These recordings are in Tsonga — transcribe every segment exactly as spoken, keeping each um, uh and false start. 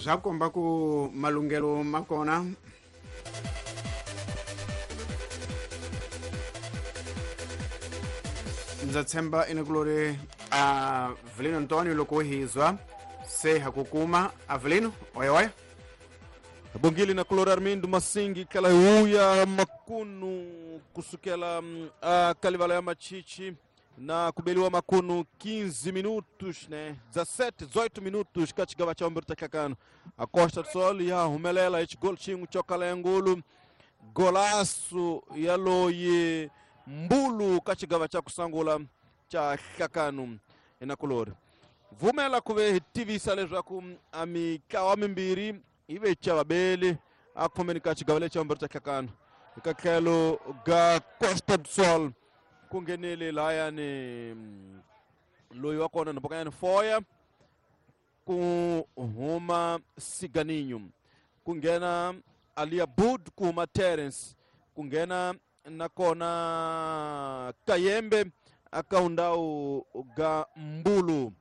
Swa komba ku malunghelo ma kona. Ndza tshemba inakulori Avelino Antonio loko hizwa se hakukuma Avelino oya oya Bongile na kulori Armindo Masingi kala huya makunu kusukela uh, kalivala ya machichi na kubeliwa makunu quinze minutos, né? dezessete, dezoito minutos kachigawa cha Humberto Kakano. A Costa do Sol ya humelela ichi gol chingu chokala ngulu golaço ya loyi mbulu kachigawa cha kusangula cha Kakano ina kulori. Vumela kuve tivisa leswaku amikawa mimbiri ive cha babeli akhomeni kachigawa cha Humberto Kakano. Ikakhelo ga Costa do Sol kungenele layani loyi wa kona nabokanyani foya ku huma Siganinho kungena Alia Bud ku huma Terence kungena nakona Kayembe akaundau ga Mbulu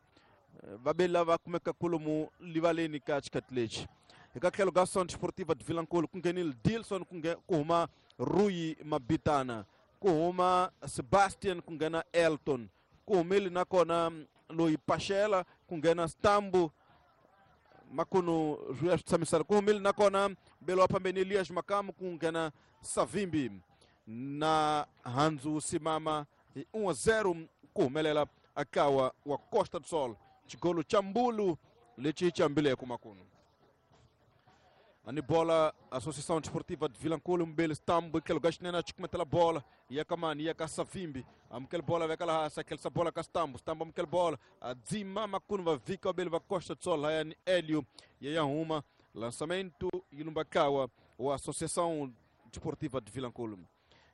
babeli lava kumeka kulumu livaleni ka xikati ekatlhelo ga Centro Sportiva de Vilankulo kungenile Dilson ku huma Rui Mabitana kuhuma Sebastian kungena Elton kuhumile nakona loyi Pachela kungena Stambu makunu zwi tsamisana kuhumile nakona belo pambeni Elias Makamu kungena Savimbi na Hanzu Simama um a zero kuhumelela akawa wa Costa do Sol chigolo cha Mbulu lechi chambile kumakunu ani bola Associação Desportiva de Vilankulo mbele Stambu aquele gashnena chikumetela bola ia kamani ia ka Savimbi amkel bola vekala hasa aquele sa bola ka Stambu Stambu amkel bola adzima makunu va vika bele va Costa do Sol hayani Hélio ia arruma lançamento ilumbakawa o Associação Desportiva de Vilankulo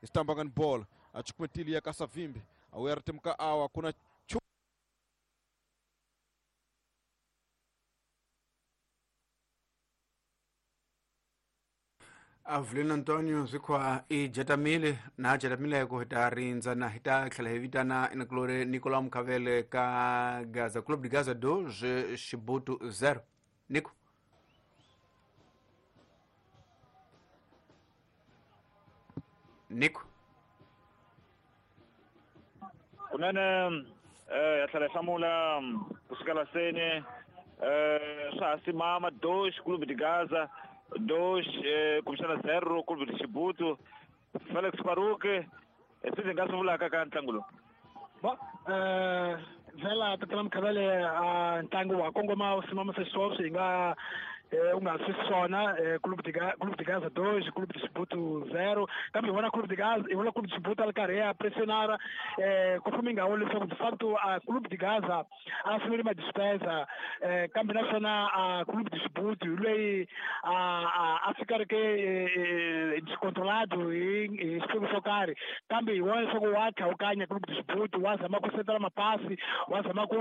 Stambu ngani bola achikumetili ia ka Savimbi awera temka awa kuna Avelino Antonio zwikhwa i jatamile na jatamile ku hita rindza na hita tlhela hi vitana inakulori Nicolau Mukhavele ka Gaza Clube de Gaza dois Chibuto zero. Nico Nico kunene eh ya tlhela hi hlamula kusukela seni eh swa ha simama dois Clube de Gaza dois eh, kumbexana zero Clube de Chibuto. Felix Faruque swi ndzi nga swi vulaka ka ntlangu lowu bo eh vhela tatana Mukhavele a ntlangu wa kongoma wu simamisa xiswona hi nga u nga swi swona Clube de Clube de Gaza dois Clube de Chibuto zero kambe hi vona Clube de Gaza hi vona Clube de Chibuto a ri karhi ya pressionara eh ku fuma ingawo leswaku de facto a Clube de Gaza a sungule ma despesa eh kambe naswona a Clube de Chibuto hi loyi a a fika ri ke descontrolado hi hi xiphemu xo karhi kambe hi vona leswaku wa tlhawukanya Clube de Chibuto wa zama ku setela mapasi wa zama ku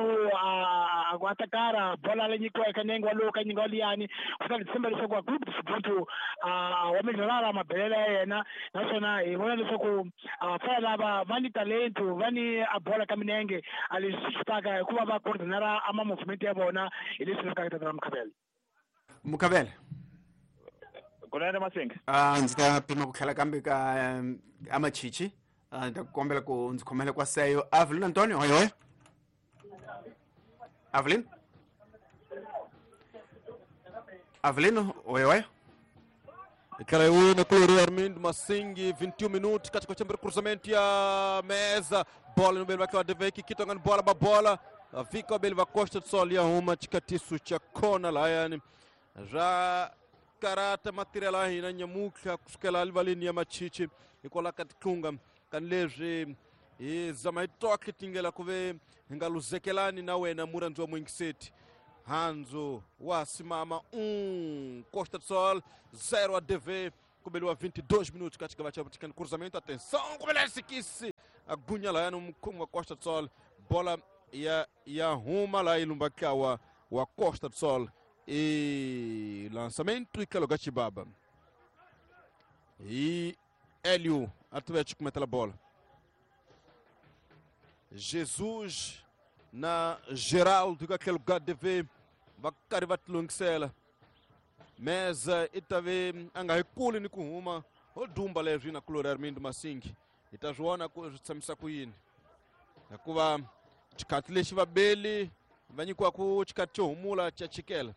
ku atakara bola leyi nyikiweke nenge walowu ka nyinga waliyani kutani tshemba leswaku a Clube de Chibuto a wa melhorara mabelelo ya yena naswona hi vona leswaku vafana lava va ni talento va ni a bola ka minenge a leswi swi taka hikuva va coordinara a ma movement ya vona hi leswi lavekaka tatana Mukhavele. Mukhavele kunene Masinga a ndzi ta pima ku tlhela kambe ka amachichi ndzi ta kombela ku ndzi khomela kwa seyo Avelino Antonio hoy hoy Avelino Avelino oi oi Ikala na kulori Armindo Masingi vinte e um minutos katika chambere cruzamento ya mesa bola no bele va deveki kitonga bola ba bola vika bele va Costa do Sol ya huma chikatisu cha kona layani ra karata material hina nyamuka kusukela livaleni ya machichi ikola katikunga kanlezwi hi zama hi toke tingela kuve hinga luzekelani na wena muranzi wa mwingiseti Hanzo wa simama um Costa do Sol zero a D V kubeliwa vinte e dois minutos katika vacha cruzamento atenção kubelesi kisi agunya la yanu mkumu wa Costa do Sol bola ya ya huma la ilumbakawa wa Costa do Sol e lançamento ikaloga chibaba e Hélio Atlético mete a bola Jesus na Geraldo aquele lugar de ver vai carivar longisela Meza i ta ve a nga hi kuli ni ku huma ho dumba leswi na kulori Armindo Masingi hi ta swi vona ku swi tshamisa ku yini hikuva xikhathi lexi vabeli va nyikiwaku xikhathi xo humula xa chikela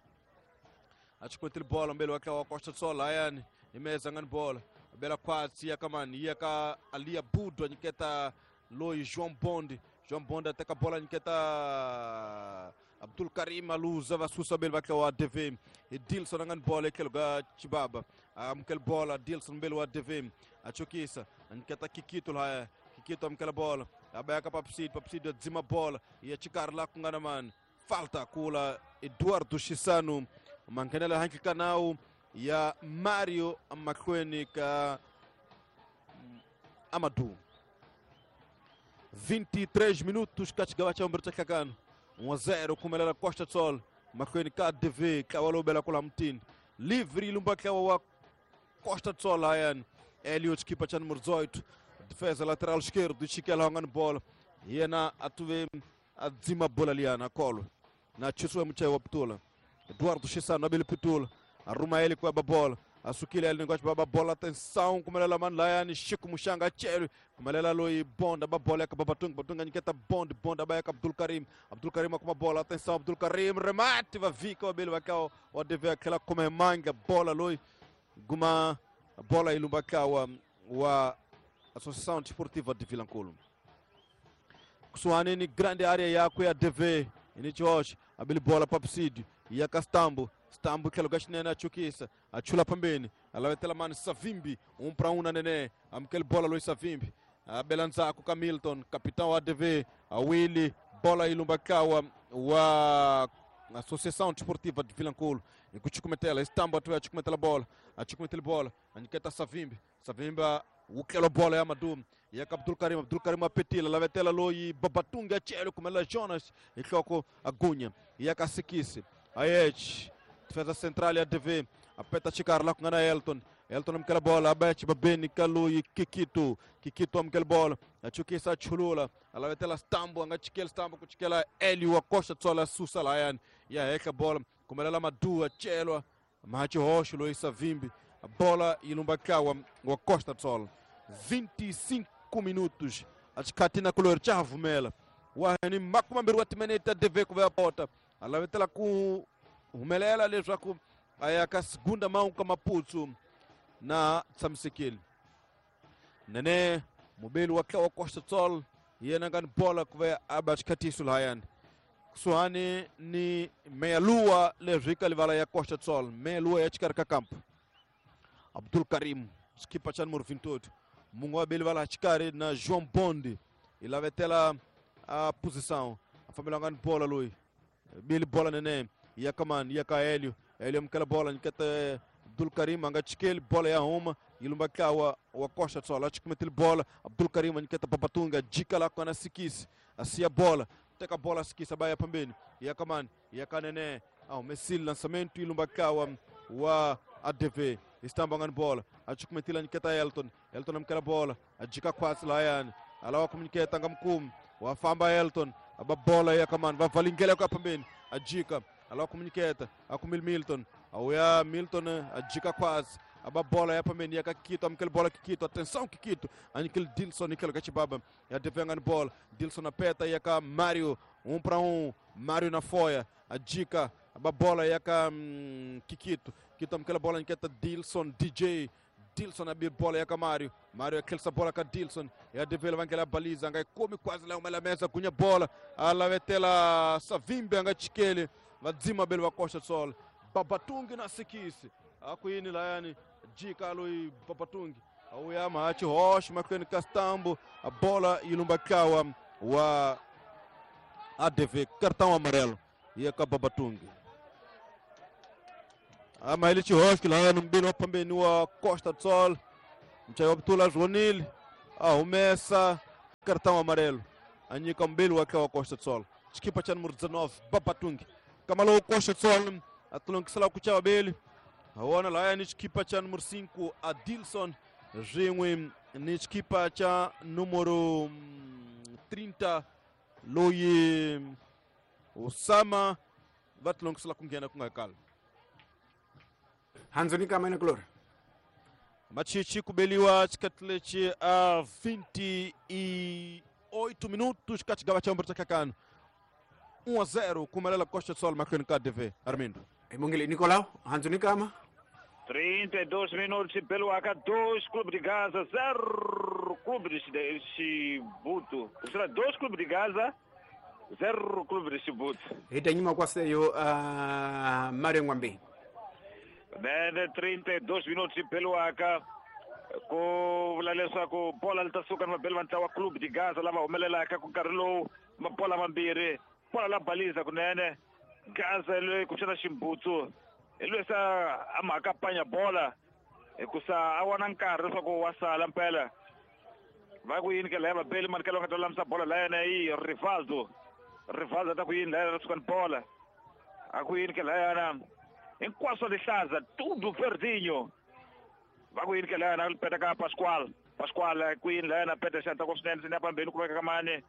a xi kotile bolo mbeli wa tlawa Costa Sol layani hi Meza nga ni bola bela khwatsi ya ka mani ya ka Alia Budo nyiketa loyi João Bond João Bond a teka bola nyiketa Abdul Karim aluza va susa beli va tlawa D V hi Dilson a nga ni bola etlhelo ka Chibaba amukela bola Dilson mbeli wa D V a chukisa a nyiketa Kikito laya Kikito amukela bola a ba ya ka Papsid Papsid a dzima bola ya xikarhi la ku nga na mani falta kula Eduardo Chisano manghenela handle ka nawu ya Mario mahlweni ka Amadou. vinte e três minutos ka xigava xa vumbirhi xa nhlangano um a zero khumelela Costa Sol mahlweni ka D V ntlawa lowu bela kwala mutini livre yi lumba ntlawa wa Costa Sol layani Elio xikipa xa numero dezoito defesa lateral esquerdo xikela nga ni bola yena a tuve a dzima bola liyana kolo na chisiwe muchayi wa pitula Eduardo Chisano abele pitula arruma ele com a bola asukile ele negócio baba bola atenção kumelela mani layani Chico Muxanga chelo kumelela loyi Bonda ba bola ka Babatunga Batunga nyiketa Bond Bond abaya ka Abdul Karim Abdul Karim akuma bola atenção Abdul Karim remate va vika wa bele vakao wa deve aquela come manga bola loyi guma bola ilumba kawa wa Associação Desportiva de Vilankulo kusuhani ni grande área yakwe ya D V inichosh abele bola papsidi ya Castambo Stambo tlhelo ka xinene a chukisa a chula phambeni a lavetela mani Savimbi um para um na Nene amukeli bola loyi Savimbi a bela ndzhaku ka Milton capitão wa D V a Willy bola yi lumba ntlawa wa Associação Desportiva de Vilankulo hi ku chukumetela Stambo a tuya chukumetela bola a chukumetela bola a nyiketa Savimbi Savimbi wu tlela bola ya Madum ya ka Abdul Karim Abdul Karim a petila lavetela loyi Babatunga chelo kumela Jonas hi nhloko a gunya ya ka Sikisi Aech defesa central ya D V apeta xikarhi la ku nga na Elton Elton amukela bola a chibabeni ka loyi Kikito Kikito amukela bola a chukisa a chulula a lavetela Stambo a nga chikeli Stambo ku chikela Elio wa Costa Tsola susa layani ya hehla bola kumelela Madu a celwa mahachi hoxo loyi Savimbi a bola yi lumba ntlawa wa Costa Tsola vinte e cinco minutos a xikhathi na kulori xa ha vumela wa ni makume mambirhi wa timinete D V ku va ya pota a lavetela ku humelela leswaku a ya ka segunda mão ka Maputsu na tshamisekile Nene mubeli wa tlawa Costa Sol yena nga ni bola ku va a ba xikhatiso lahayani kusuhani ni Meia-Lua leswi ka livala ya Costa Sol Meia-Lua ya xikarhi ka kampo Abdul Karim xikipa xa numero vinte e oito mungu wa beli vala xikarhi na João Bondi i lavetela a posição a fambela nga ni bola loyi beli bola Nene ya kamani ya ka Helio Helio amukela bola nyiketa Abdul Karim a nga chikeli bola ya huma yi lumba ntlawa wa Costa Sol a chikumetile bola Abdul Karim a nyiketa Babatunga jika la kona Sikisi a siya bola teka bola Sikisi a ba ya phambeni ya kamani ya ka Nene a humesile lançamento yi lumba ntlawa wa A D V Istamba nga ni bola a chikumetile nyiketa Elton Elton amukela bola a jika khwatsi layani a lava ku nyiketa nga mukumi wa famba Elton a ba bola ya kamani va valingela ku ya phambeni a jika ala kumuniketa akumil Milton auya Milton a jika quase a ba bola ya pambeni ya Kikito amukela bola Kikito atenção Kikito anikele Dilson nikele ka Chibaba ya defenga ni bola Dilson apeta ya ka Mario um para um Mario na foia a jika a ba bola ya ka hum, Kikito Kikito amukela bola niketa Dilson D J Dilson abir bola ya ka Mario Mario akhelisa bola ka Dilson ya devela vangela baliza nga komi quase la uma mesa gunya bola alavetela Savimbi anga chikele vadzima bele va Costa Sol Babatungi na Sikisi akuyini layani jika loyi Babatungi auya mahachi hoxo mahlweni ka Stambo a bola yi lumba ntlawa wa A D V cartão amarelo ya ka Babatungi ama ile xihoxo layani mbili wa phambeni wa Costa Sol muchayi wa Butula Zwonile a humesa cartão amarelo a nyika mbili wa ntlawa wa Costa Sol xikipa xa numero dezenove Babatungi kama lowu Costa Sol a tilongisela ku chava beli a wona laya ni xikipa xa numero cinco Adilson swin'we ni xikipa xa numero trinta loyi Osama va tilongisela ku nghena ku nga kala. Hanzoni kama ina kulori Machichi kubeliwa xikati lexi a vinte e oito minutos ka xigava xa vumbirhi xa nhlangano um a zero ku humelela Costa do Sol mahlweni ka D V Armindo. Mongele Nicolau Hanzoni kama trinta e dois minutos beliwaka dois Clube de Gaza zero Clube de Chibuto. Será dois Clube de Gaza zero Clube de Chibuto. Hi ta nyima kwaseyo uh, Mario Ngwambi. Nene trinta e dois minutos beliwaka ku vula leswaku bola li ta suka ni vabeli va ntlawa Clube de Gaza lava humelelaka ku nkarhi lowu mabola mambirhi bola la baliza kunene Gaza loyi kumbexana Ximbutsu hi loyi sa a mhaka panya bola hikusa a wana nkarhi leswaku wa sala mpela va ku yini ke laya vabeli mani ka loko nga ta lulamisa bola la yena i Rivaldo. Rivaldo ta ku yini laya suka ni bola a ku yini ke layana hinkwaswo lihlaza tudo verdinho va ku yini ke layana peta ka Pascual. Pascual ku yini layana peta xanta ku swinene sini pambeni kumeka ka mani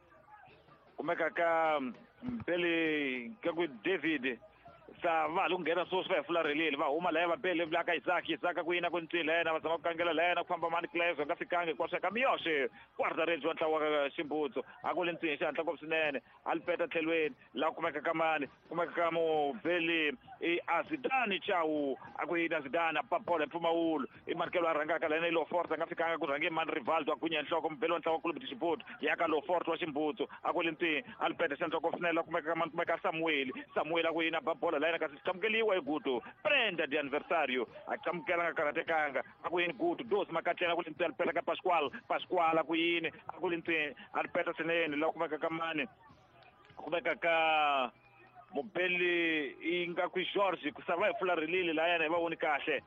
kumeka ka Mbeli ka ku David sa va lo nghena sweswi va hi fularhelile va huma laya vabeli la ka Isaac. Isaac ku yina ku ncila yena va zama ku kangela la yena ku famba mani Cleves va nga fikangi hinkwaswo ka Miyoxe guarda-redes wa ntlawa wa Ximbutsu a ku le ntsini xihatla ngopfu swinene a li peta tlhelweni laha kumeka ka mani kumeka ka mubeli i Azidani Chau a ku yini Azidani a papola mpfumawulo i markelo a rhangaka la yena i Lofort a nga fikanga ku rhange mani Rivaldo a gunya nhloko mubeli wa ntlawa wa Clube de Chibuto ya ka Lofort wa Ximbutsu a ku le ntsini a li peta xihatla ngopfu swinene laha kumeka ka mani kumeka Samuel. Samuel a ku yini a ba bola la yena kasi xamukeliwa hi Guto prenda de aniversário a xamukela nga karhatekanga a ku yini Guto dos makatlela ku le ntsini a li peta ka Pascual. Pascual a ku yini a ku le ntsini a li peta swinene laha kumeka ka mani kumeka ka mubeli i nga ku George ku sava hi fularhelile la yena hi va voni kahle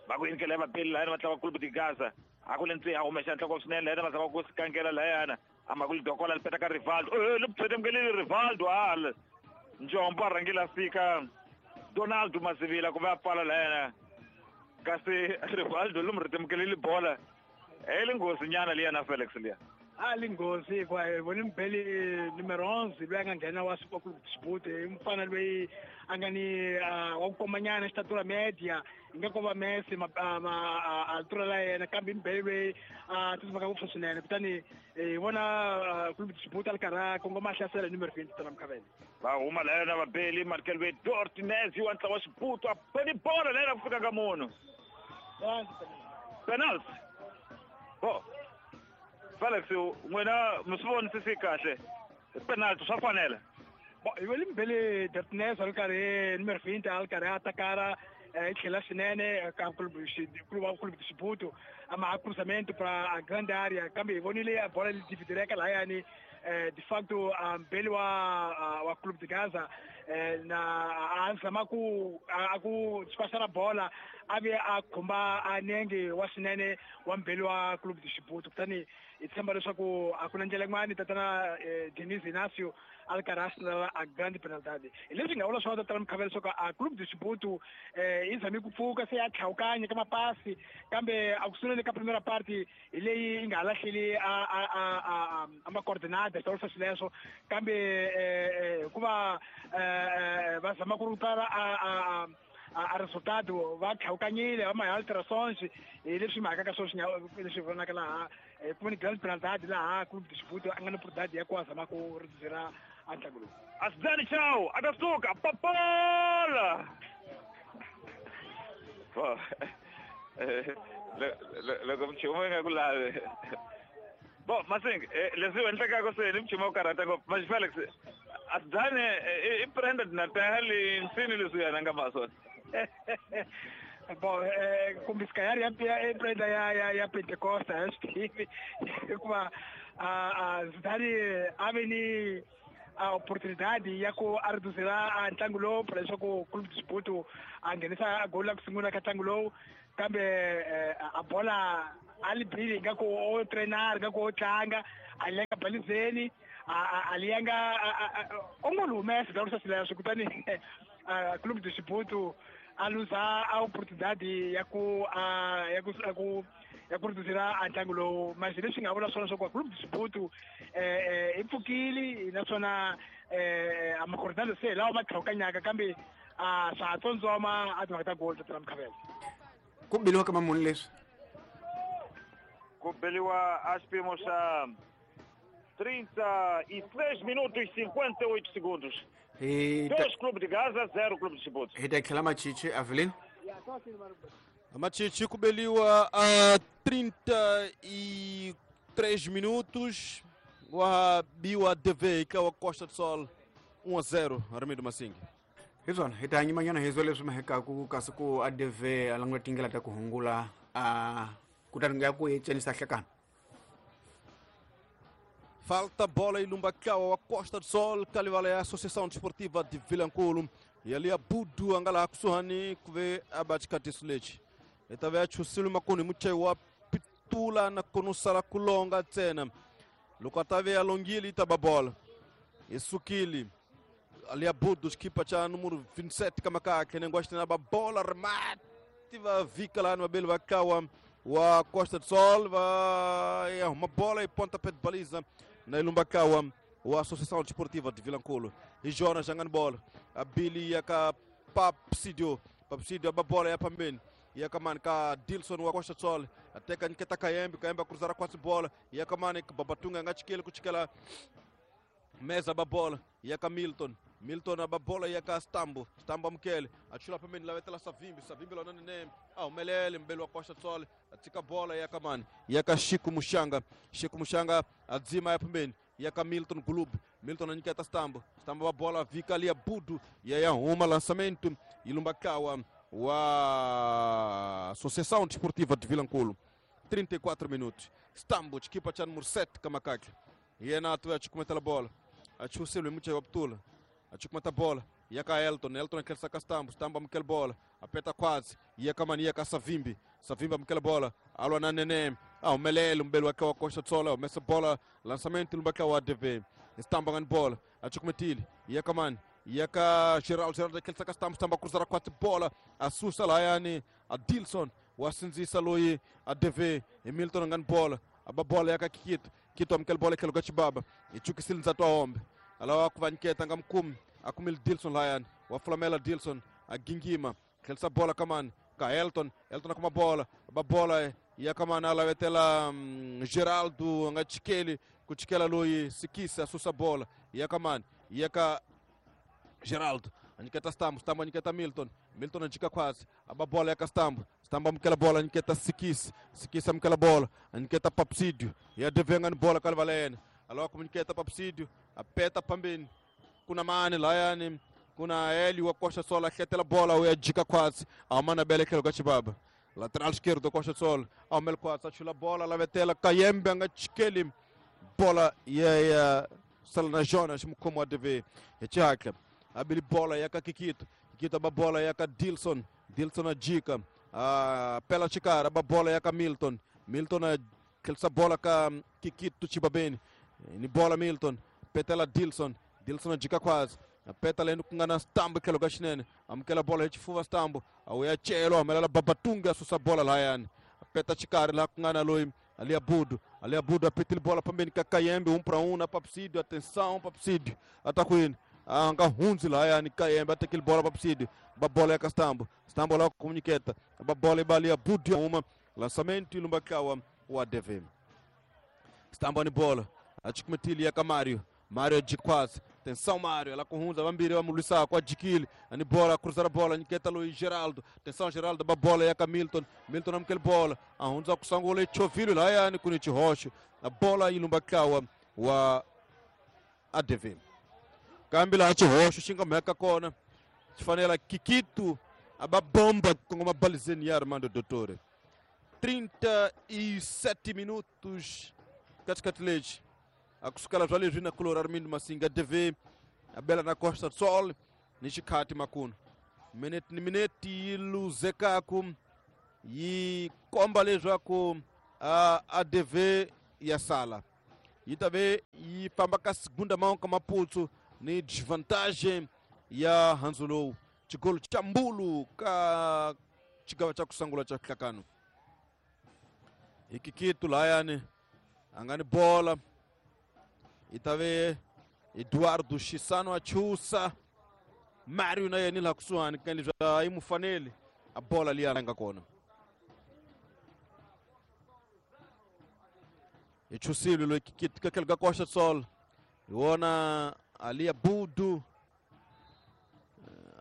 va ku yini ke la vabeli la yena va tlanga Clube de Gaza a ku le ntsini a huma xandla ngopfu swinene la yena va zama ku sikangela la yena a ma ku li dokola li peta ka Rivaldo eh li phetemkelile Rivaldo hala Njombo a rhangile a fika Donaldo Mazivila ku va a pfala la yena kasi Rivaldo lomu ritemukelile bola e li nghozi nyana liya na Felix liya a li nghozi hikuva hi vone mubeli numero onze loyi a nga nghena wa Sport Club Chibuto i mufana loyi a nga ni wa ku komanyana xitatura media hi nga ko va Messi altura la yena kambe i mubeli loyi a tsutsumaka ngopfu swinene kutani hi vona Club Chibuto a li karhi a kongoma a hlasela hi numero twenty tana Mkhavele. Va huma la yena vabeli markel ve Dortinez wa ntlawa wa Xibuto a beni bola la yena ku fika ka munhu penalty bo Felix n'wina mi swi vonisisi kahle penalty swa fanela bo hi vele mbele Dortinez a ri karhi numero twenty a ri karhi a atakara i tlhela swinene ka clube Clube de Chibuto a ma cruzamento para a grande área kambe hi vonile a bola li dividireka lahayani de facto mbeli wa wa Clube de Gaza na a zama ku a ku despachar bola a ve a khumba a nenge wa swinene wa mbeli wa Clube de Chibuto kutani hi tshemba leswaku a ku na ndlela yin'wani tatana Denis Inacio a ri karhi a sinela a grande penalidade hi leswi nga vula swona tatana Mkhavele leswaku a Clube de Chibuto yi zame ku pfuka se ya tlhawukanya ka mapasi kambe a ku sunguleni ka primera parte hi leyi yi nga ha lahleli a a a a macoordinada xi swileswo kambe hikuva va zama ku rutala a a a resultado va tlhawukanyile va ma alterações hi leswi mhaka ka swona leswi vonaka laha ku ni grande penalidade laha Clube de Chibuto a nga ni oportunidade ya ku a zama ku reduzira a ntlangu lowu. Azidani Chau a ta suka papola loko mchumu yi nga ku lavi bo Masing leswi endlekaka se ni mchumu wa ku karhata ngopfu Max Felix Azidani i prenda Natal nsini leswi yena nga ma swona Bom, eh, kumbe se calhar ya ya prenda ya ya ya Pentecosta a swi tivi hikuva a Zidane a ve ni a oportunidade ya ku a reduzira a ntlangu lowu para leswaku Clube de Chibuto a nghenisa goli la ku sungula ka ntlangu lowu kambe a bola a li bile ingaku o treinar ingaku o tlanga a li yanga balizeni a li yanga o ngo li humesa ta swileswo kutani Clube de Chibuto a luza a oportunidade ya ku ya ku ya ku ya ku reduzira a ntlangu lowu mas leswi nga vula swona swa ku Clube de Chibuto i pfukile naswona a macoordinado se hi lawa ma tlhawukanyaka kambe A swa tsondzoma a timhaka ta goal tatana Mkhavele. Ku biliwa ka mamuni leswi? Ku beliwa a xipimo xa trinta e três minutos e cinquenta e oito segundos. Dois Clube de Gaza, zero Clube de Chibuto. Hi ta tlhela Machichi, Avelino. Machichi kubeliwa a trinta e três minutos. Wa biwa D V ka wa Costa do Sol um a zero Armindo Massingue. Hi swona hi ta nyimanyana hi zwo leswi mahekaku kasi ku A D V a languta tindlela ta ku hungula a kutani ya ku cinisa hlekana. Falta bola e Lumbakawa wa Costa do Sol kalivala ya Associação Desportiva de Vilankulo e ali a Budu angala kusuhani kuve abachikatiso lechi etave achusile makuni muchewa pitula na konusala kulonga tena lokatave alongili itaba bola esukili ali a Budu equipa cha número vinte e sete kamakake nengosta na bola remate va vika lá no abel vakawa wa Costa do Sol vai uma bola e pontapé de baliza na Ilumbakawa wa Associação Desportiva de Vilankulo e Jonas jangando bola a Billy yaka Papsidio Papsidio a bola ya pambeni yaka man ka Dilson wa Costa do Sol até ka nketa Kayembe Kayembe cruzar quase bola yaka man ka Babatunga ngachikele kuchikela mesa ba bola yaka Milton Milton a bola yaka Stambo Stambo amkele achula pembeni la vetela Savimbi Savimbi lona nene ah umelele mbele wa Costa do Sol atika bola yaka man yaka Chico Muxanga Chico Muxanga adzima ya pembeni yaka Milton Glub Milton aniketa Stambo Stambo a bola vika ali a Budu e aí arruma lançamento e Lumbakawa wa Associação Desportiva de Vilankulo trinta e quatro minutos Stambo equipa cha número sete kamakake e é na tua a bola achusele muito abtula achukumata bola yaka Elton Elton aquele saca Stambo Stambo amkel bola apeta quase yaka mania ka Savimbi Savimbi amkel bola alwa na nene ah umelele mbele wake wa Costa do Sol mesa bola lançamento lumbaka wa A D V Stambo ngan bola achukumetili yaka man yaka Geraldo Geraldo aquele saca Stambo Stambo cruzar quatro bola assusta lá yani a Dilson wasinzisa loyi A D V Milton ngan bola aba bola yaka Kikito Kito amkel bola aquele gachibaba ichukisile nzatwa hombe alawa kuvanketa ngamkumi akumil Dilson Lyon wa Flamela Dilson agingima kelsa bola kaman ka Elton Elton akuma bola ba bola ya kaman ala vetela um, Geraldo ngachikeli kuchikela loyi sikisa susa bola ya kaman ya ka Geraldo aniketa Stambo Stambo aniketa Milton Milton anjika quase aba bola ya ka Stambo Stambo amkela bola aniketa Sikisa Sikisa amkela bola aniketa Papsidio ya devenga bola kalvalena alawa kuniketa Papsidio apeta pambeni kuna mane layani kuna Eli wa Costa do Sol akhetela bola uyajika quase amana belekelo gachibaba lateral esquerdo Costa do Sol amel quase achula bola la vetela Kayembe angachikeli bola ya Salana Jonas mkomo A D V echaka abili bola yaka Kikito Kikito ba bola yaka Dilson Dilson ajika pela chikara ba bola yaka Milton Milton akelsa bola ka Kikito chibabeni ni bola Milton petela Dilson Dilson ajika quase apeta lendo kungana Stambo kelo gashinene amkela bola hichifuva Stambo awuyachelo amelela Babatunga asusa bola layani apeta chikari la kungana loi ali abudu ali abudu apetile bola pambeni kakayembe um para um na Papsidio atenção Papsidio atakuini anga hunzi layani Kayembe atekile bola Papsidio babola ya Stambo Stambo lá comuniqueta babola ibali abudu uma lançamento ilumbakawa wa D V Stambo ni bola achikumetili ya Kamario Mário de quase, atenção Mário, ela com vambiri vamulisa com a Dikili, ani bola, cruzar a bola, Niketa Luiz Geraldo, atenção Geraldo, ba bola yaka Milton, Milton amkel bola, ahunza kusangole chovilo lá yani kunichi rocho, a bola ilumbakawa wa A D V. Kambila achi rocho, xinga meka kona, fanela Kikito, aba bomba com uma balizeni Armando Dottore. trinta e sete minutos, Katikatileji. Akusukala zvale na kulor Armindo Massinga D V abela na Costa do Sol nixikati makunu minute ni minute yi luzekaku yi komba leswaku a D V ya sala yi ta ve yi famba ka segunda mão ka Maputo ni desvantagem ya handzu lowu xigolo xa Mbulu ka xigava xa kusangula xa hlakano hi Kikito layani a nga ni bola itave Eduardo Chisano achusa Mario na yena laha kusuhani ka leswi a yi mu faneli a bola liya nga kona. Hi chusile loyi ka tlhelo ka Costa do Sol hi wona Alia Budu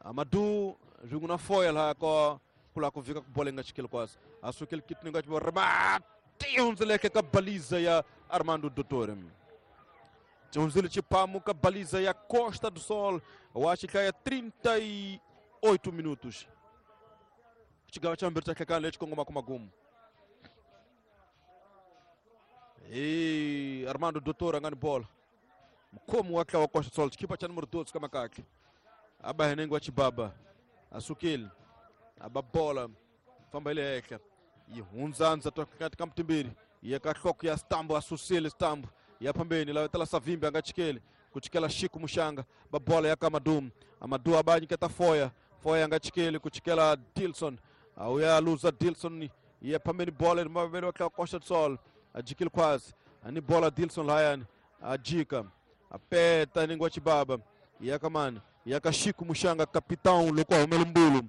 Amadou swin'we na Foya laha ko ku lava ku vika ku bola yi nga chikeli kwasi a sukeli kiti nga remati hundzileke ka baliza ya Armando Dottore hundzile xipamu ka baliza ya Costa do Sol wa xihlaya trinta e oito minutos xigava xa mbirhi xa hlekani lexi kongomaka magumu hi Armando Dottore a nga ni bola mukhomi wa tlawa Costa do Sol xikipa xa numero doze ka makahle a ba henengi wa xibaba a sukile a ba bola famba hi le henhla yi hundzandza ka mutimbirhi ya ka nhloko ya Stambo a susile Stambo ya phambeni la tala Savimbi a nga chikeli ku chikela Chico Muxanga ba bola ya ka Amadou Amadou a ba nyiketa Foya Foya a nga chikeli ku chikela Dilson a u ya luza Dilson ya phambeni bola mavele wa tlawa Costa do Sol a jikile khwazi a ni bola Dilson lahayani a jika a peta ningi wa xibaba ya ka mani ya ka Chico Muxanga capitão loko a humela mbulu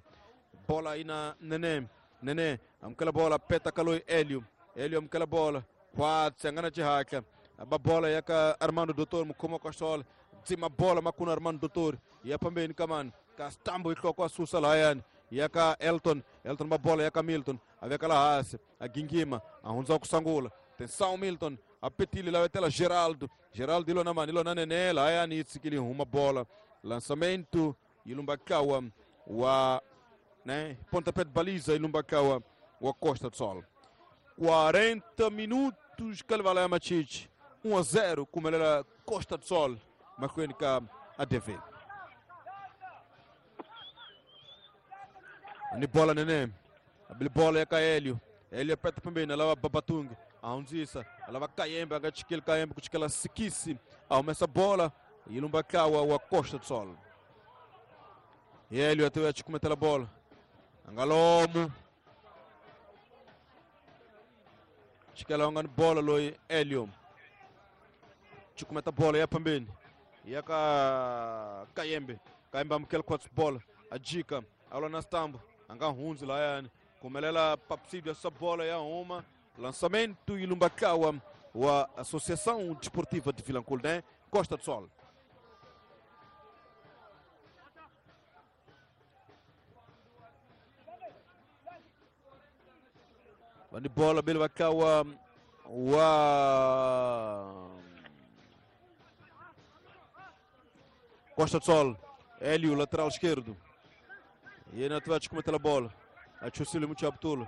bola ina Nene Nene amukela bola peta ka loyi Elio Elio amukela bola khwatsi a nga na xihatla a ba bola ya ka Armando Dottore mukhomi wa Costa dzima bola makuna Armando Dottore ya phambeni ka mani ka Stambo hi nhloko a susa lahayani ya ka Elton Elton ba bola ya ka Milton a veka laha hansi a gingima a hundza ku sangula tensão Milton a petile la vetela Geraldo Geraldo ilona mani ilona Nene lahayani yi tshikile huma bola lançamento ilumbakawa wa né pontapé de baliza ilumbakawa wa Costa do Sol quarenta minutos Kalvala Machichi um a zero kumelela Costa do Sol mahlweni ka A D V ni bola Nene abili bola ya ka Elio Elio peta pembeni alava Babatungi a hundzisa alava Kayembe a nga chikeli Kayembe ku chikela Sikisi a humesa bola ilumbakawa wa Costa do Sol Elio até a bola angalomo chikela ungani bola loyi Elio chikumeta bola ya pembeni ya ka Kayembe Kayembe amukela khwatsi bola ajika alwa na Stambo anga hundzi lahayani kumelela Papsidio essa bola ya huma lançamento ilumbakawa wa Associação Desportiva de Vilanculo, né? Costa do Sol. Vani bola bele bakawa wa Costa do Sol, Hélio, lateral esquerdo. E aí na Atlético cometa a bola. A Chusile muito abtulo.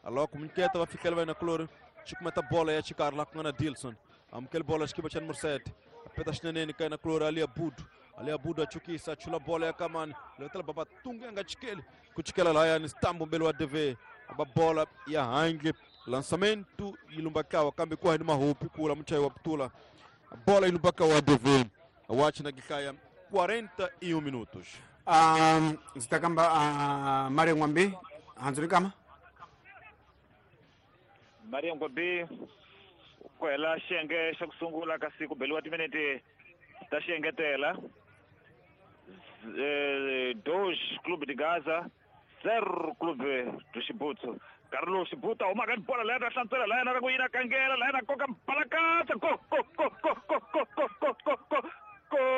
A loco muito quieta vai ficar vai na cloro. Chico meta bola e a chicar lá com a Dilson. A mquel bola esquiva tinha número sete. A peta chinene cai na cloro ali a Budo. Ali a Budo a chukisa a chula bola e a kamani. Levantela baba tunga anga chikele. Kuchikela lá ya nistambo mbele wa D V. A bola e a hangue. Lançamento e lumbakawa kambi kwa ni mahupi kula mchai wa ptula. A bola e lumbakawa D V. A watch na gikaya quarenta e um minutos. Um, zitakamba uh, Mario Ngwambi hanzuri kama Mario Ngwambi ku hela xiyenge xa ku sungula ka siku beliwa timinete ta xiengetela dois Clube de Gaza zero Clube do Xibutsu nkarhi lowu Xibuta humaka ni bola leyi ta hlantswela laha yena ku yina kangela laha yena koka balakatsa go go go go go go go go go go.